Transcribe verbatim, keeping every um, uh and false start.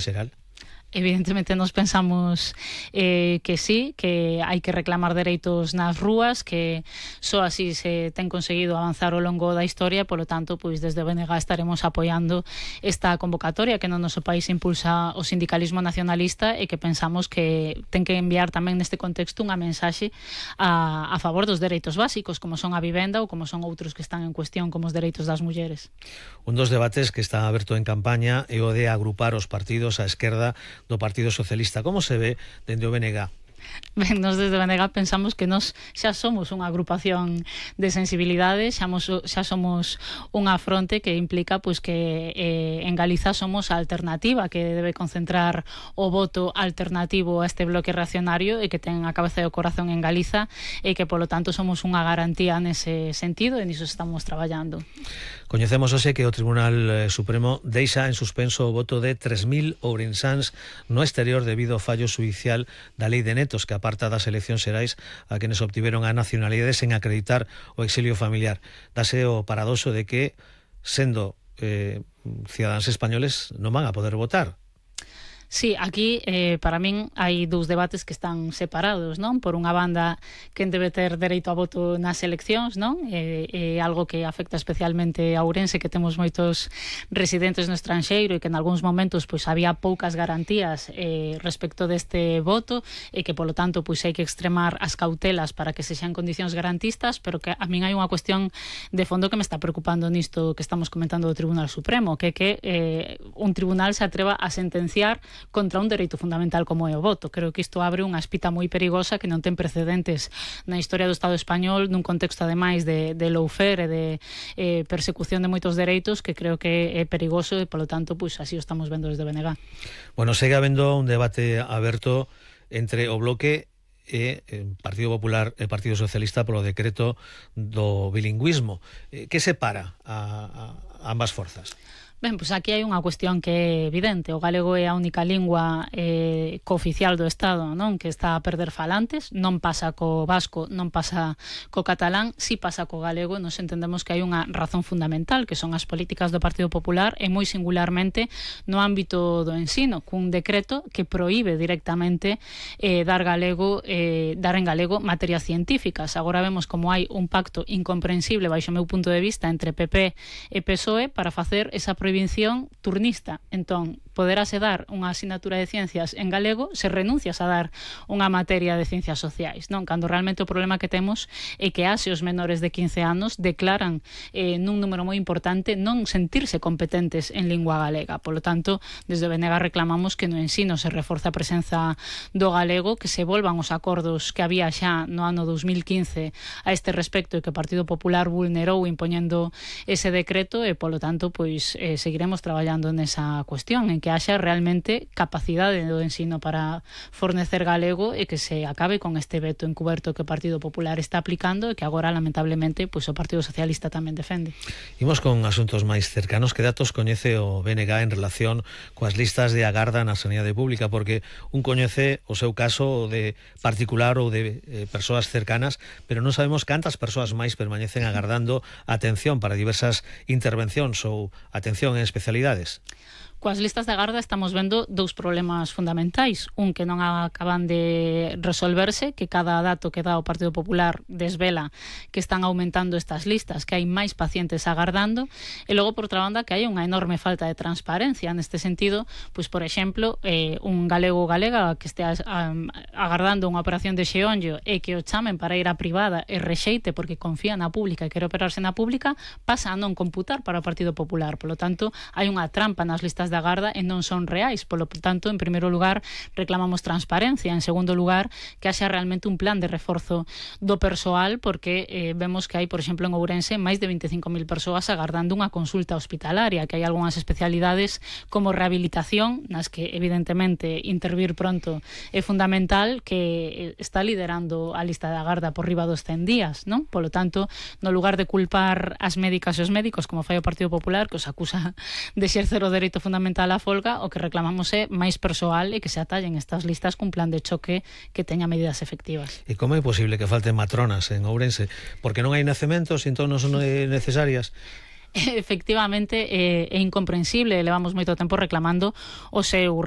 xeral? Evidentemente nos pensamos eh, que sí, que hai que reclamar dereitos nas rúas, que só así se ten conseguido avanzar ao longo da historia, polo tanto, pois desde o B N G estaremos apoiando esta convocatoria que no noso país impulsa o sindicalismo nacionalista e que pensamos que ten que enviar tamén neste contexto unha mensaxe a, a favor dos dereitos básicos, como son a vivenda ou como son outros que están en cuestión, como os dereitos das mulleres. Un dos debates que está aberto en campaña é o de agrupar os partidos á esquerda do Partido Socialista. Como se ve dende o B N G? Ben, nos desde o B N G pensamos que nos xa somos unha agrupación de sensibilidade, xa, mos, xa somos unha fronte que implica pois, que eh, en Galiza somos a alternativa que debe concentrar o voto alternativo a este bloque reaccionario e que ten a cabeza e o corazón en Galiza e que polo tanto somos unha garantía nese sentido e niso estamos traballando. Coñecemos hoxe que o Tribunal Supremo deixa en suspenso o voto de tres mil ourensáns no exterior debido ao fallo judicial da lei de netos que aparta das eleccións xerais a quenes obtiveron a nacionalidade sen acreditar o exilio familiar. Dase o paradoxo de que, sendo eh, cidadáns españoles, non van a poder votar. Sí, aquí eh, para min hai dous debates que están separados, non? Por unha banda, quen debe ter dereito a voto nas eleccións, non? É, é algo que afecta especialmente a Ourense, que temos moitos residentes no estranxeiro e que en algúns momentos pois había poucas garantías eh, respecto deste voto e que polo tanto pois hai que extremar as cautelas para que se xean condicións garantistas, pero que a min hai unha cuestión de fondo que me está preocupando nisto que estamos comentando do Tribunal Supremo, que é que eh, un tribunal se atreva a sentenciar contra un dereito fundamental como é o voto. Creo que isto abre unha espita moi perigosa que non ten precedentes na historia do Estado español, nun contexto ademais de, de lawfare e de eh, persecución de moitos dereitos, que creo que é perigoso e polo tanto pois así o estamos vendo desde B N G. Bueno, segue habendo un debate aberto entre o bloque e o Partido Popular e Partido Socialista polo decreto do bilingüismo. Que separa a, a ambas forzas? Ben, pois aquí hai unha cuestión que é evidente. O galego é a única lingua eh, cooficial do Estado, non? Que está a perder falantes. Non pasa co vasco, non pasa co catalán, si pasa co galego. Nos entendemos que hai unha razón fundamental, que son as políticas do Partido Popular e moi singularmente no ámbito do ensino, cun decreto que proíbe directamente eh, dar galego, eh, dar en galego materias científicas. Agora vemos como hai un pacto incomprensible, baixo o meu punto de vista, entre P P e P S O E para facer esa prohibición prohibición turnista. Entón, poderase dar unha asignatura de ciencias en galego se renuncias a dar unha materia de ciencias sociais, non? Cando realmente o problema que temos é que hace os menores de quince anos declaran eh, nun número moi importante non sentirse competentes en lingua galega. Polo tanto, desde o B N G reclamamos que no ensino se reforza a presenza do galego, que se volvan os acordos que había xa no ano dos mil quince a este respecto e que o Partido Popular vulnerou impoñendo ese decreto e, polo tanto, pois eh, seguiremos traballando nesa cuestión, en que haxa realmente capacidade do ensino para fornecer galego e que se acabe con este veto encuberto que o Partido Popular está aplicando e que agora, lamentablemente, pois o Partido Socialista tamén defende. Imos con asuntos máis cercanos. Que datos coñece o B N G en relación coas listas de agarda na sanidade pública? Porque un coñece o seu caso de particular ou de eh, persoas cercanas, pero non sabemos cantas persoas máis permanecen agardando atención para diversas intervencións ou atención en especialidades. Coas listas de agarda estamos vendo dous problemas fundamentais. Un que non acaban de resolverse, que cada dato que dá o Partido Popular desvela que están aumentando estas listas, que hai máis pacientes agardando, e logo, por outra banda, que hai unha enorme falta de transparencia. Neste sentido, pois, por exemplo, eh, un galego ou galega que estea um, agardando unha operación de xeonllo e que o chamen para ir á privada e rexeite porque confía na pública e quere operarse na pública, pasa a non computar para o Partido Popular. Por lo tanto, hai unha trampa nas listas de agarda e non son reais. Por lo tanto, en primeiro lugar, reclamamos transparencia. En segundo lugar, que haxa realmente un plan de reforzo do persoal, porque eh, vemos que hai, por exemplo, en Ourense, máis de veinticinco mil persoas agardando unha consulta hospitalaria, que hai algunhas especialidades como rehabilitación, nas que, evidentemente, intervir pronto é fundamental, que está liderando a lista de agarda por riba dos cen días, non? Por lo tanto, no lugar de culpar as médicas e os médicos, como fai o Partido Popular, que os acusa de exercer o dereito fundamental a folga, o que reclamamos é máis persoal e que se atallen estas listas cun plan de choque que teña medidas efectivas. E como é posible que falten matronas en Ourense? Porque non hai nacementos, entón non son necesarias? efectivamente é, é incomprensible, levamos moito tempo reclamando o seu